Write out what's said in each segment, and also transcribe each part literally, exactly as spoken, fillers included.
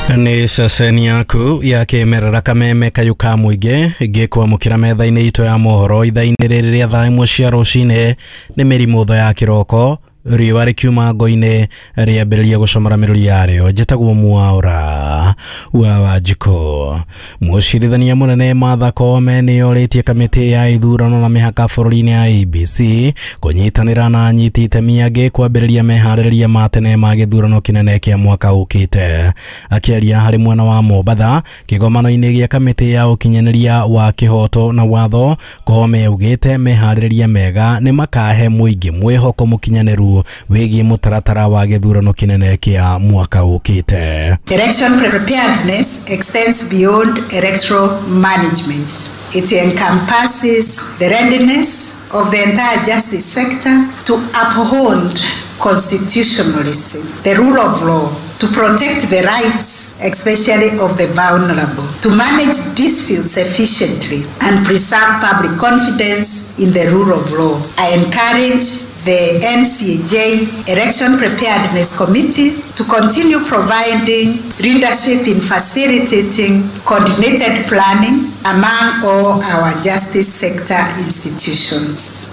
Nĩ ceceni yaku ya kĩmerera Kameme kayũ ka mũingĩ ngĩkwamũkĩra metha-inĩ itũ ya mohoro ithaa-inĩ rĩrĩ rĩa thaa ĩmwe cia rũcinĩ. Nĩ mĩrimũ ya kĩroko, riũa rĩkiuma ngo-inĩ rĩambĩrĩria gũcomora mĩrũri yarĩo. Njĩtagwo Mwaũra wa Wanjikũ. Mũcirithania mũnene Martha Koome nĩorĩtie kamĩtĩ ya ithurano na mĩhaka bũrũri-inĩ ya I E B C kũnyitanĩra na anyiti itemi angĩ kwambĩrĩria meharĩrĩria ma tene ma gĩthurano kĩnene kĩa mwaka ũkĩte. Akĩaria harĩ mwena wa Mombatha kĩgomano-inĩ gĩa kamĩtĩ ya ũkinyanĩria wa kĩhoto na watho, Koome augĩte meharĩrĩria mega nĩ makahe mũingĩ mwĩhoko mũkinyanĩru wĩgiĩ mũtaratara wa gĩthurano kĩnene kĩa mwaka ũkĩte. Election preparedness extends beyond electoral management. It encompasses the readiness of the entire justice sector to uphold constitutionalism, the rule of law, to protect the rights, especially of the vulnerable, to manage disputes efficiently, and preserve public confidence in the rule of law. I encourage the N C A J Election Preparedness Committee to continue providing leadership in facilitating coordinated planning among all our justice sector institutions.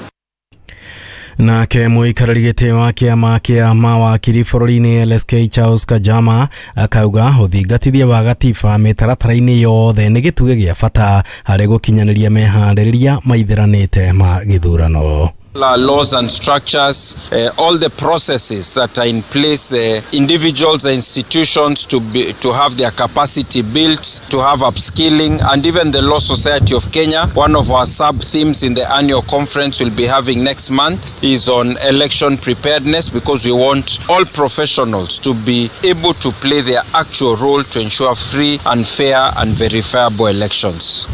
Nake mũikarĩri gĩtĩ wa kĩama kĩa mawakiri bũrũri-inĩ L S K Charles Kajama akauga ũthingatithia wa gatiba mĩtaratara-inĩ yothe nĩ gĩtugĩ gĩa bata harĩ gũkinyanĩria meharĩrĩria maithĩranĩte ma gĩthurano. Our laws and structures, uh, all the processes that are in place, the individuals and institutions to be, to have their capacity built, to have upskilling, and even the Law Society of Kenya. One of our sub themes in the annual conference we'll be having next month is on election preparedness, because we want all professionals to be able to play their actual role to ensure free and fair and verifiable elections.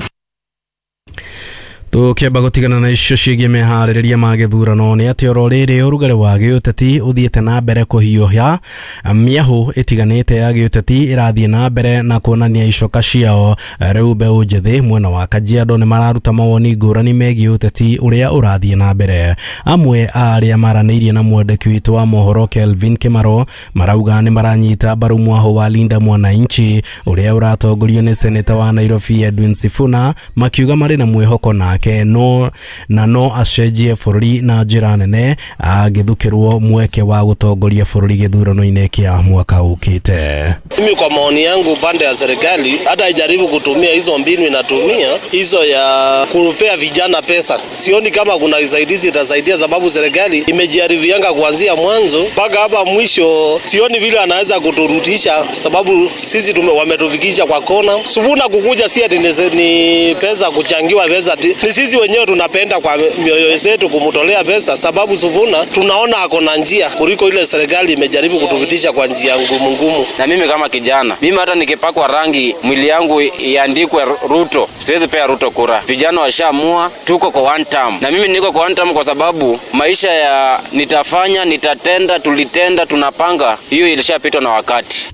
Tũkĩamba gũtigana na icio ciĩgiĩ meharĩrĩria ma gĩthurano, nĩ atĩ oro rĩrĩ ũrugarĩ wa gĩũteti ũthiĩte na mbere kũhiũha, mĩahũ ĩtiganĩte ya gĩũteti ĩrathiĩ na mbere na kuonania icoka ciao. Rĩu mbeũ njĩthĩ mwena wa Kajiado nĩ mararuta mawoni ngũrani megiĩ ũteti ũrĩa ũrathiĩ na mbere. Amwe a arĩa maranĩirie na mwandĩki witũ wa mohoro Kelvin Kimaro marauga nĩ maranyita mbaru mwahũ wa Linda Mwananchi ũrĩa ũratongorio nĩ seneta wa Nairobi Edwin Sifuna, makiuga marĩ na mwĩhoko nake no na no acenjie bũrũri na njĩra nene angĩthukĩrwo mweke wa gũtongoria bũrũri gĩthurano-inĩ kĩa mwaka ũkĩte. Mimi kwa maoni yangu, pande ya serikali hata ijaribu kutumia hizo mbinu inatumia hizo ya kupea vijana pesa, sioni kama kuna usaidizi itasaidia, sababu serikali imejaribianga kuanzia mwanzo mpaka hapa mwisho. Sioni vile anaweza kuturudisha, sababu sisi tume, wametufikisha kwa kona. Sifuna kukuja si ati ni, ni pesa kuchangiwa pesa, ni sisi wenyewe tunapenda kwa mioyo zetu kumtolea pesa, sababu Sifuna tunaona ako na njia kuliko ile serikali imejaribu kutupitisha kwa njia ngumu ngumu. Na mimi kama kijana, mimi hata nikipakwa rangi mwili yangu iandikwe Ruto, siwezi pea Ruto kura. Vijana washaamua tuko kwa one term, na mimi niko kwa one term kwa sababu maisha ya nitafanya, nitatenda, tulitenda, tunapanga, hiyo ilishapitwa na wakati.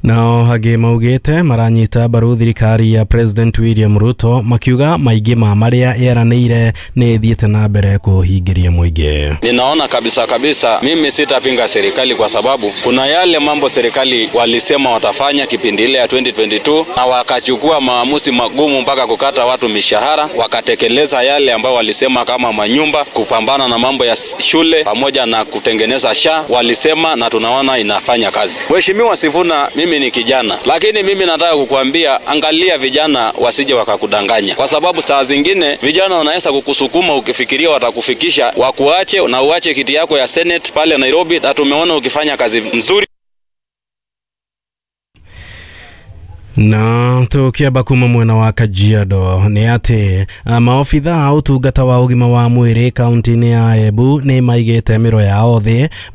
Nao hangĩ maugĩte maranyita mbaru thirikari ya President William Ruto, makiuga maingĩ ma marĩa yeranĩire nĩ ĩthiĩte na mbere kũhingĩria mũingĩ. Ninaona kabisa kabisa, mimi sitapinga serikali kwa sababu kuna yale mambo serikali walisema watafanya kipindi ile ya elfu mbili ishirini na mbili na wakachukua maamuzi magumu mpaka kukata watu mishahara, wakatekeleza yale ambayo walisema kama manyumba, kupambana na mambo ya shule pamoja na kutengeneza SHA walisema, na tunaona inafanya kazi. Mheshimiwa Sifuna, mimi ni kijana, lakini mimi nataka kukuambia, angalia vijana wasije wakakudanganya, kwa sababu saa zingine vijana wanaweza kukusukuma ukifikiria watakufikisha, wakuache na uache kiti yako ya Senate pale Nairobi, na tumeona ukifanya kazi nzuri. Na tukiamba kuma mwena wa Kajiado, nĩ atĩ maobitha a ũtungata wa ũgima wa mwĩrĩ kaunti-inĩ ya Embu nĩ maigĩte mĩro yao thĩ.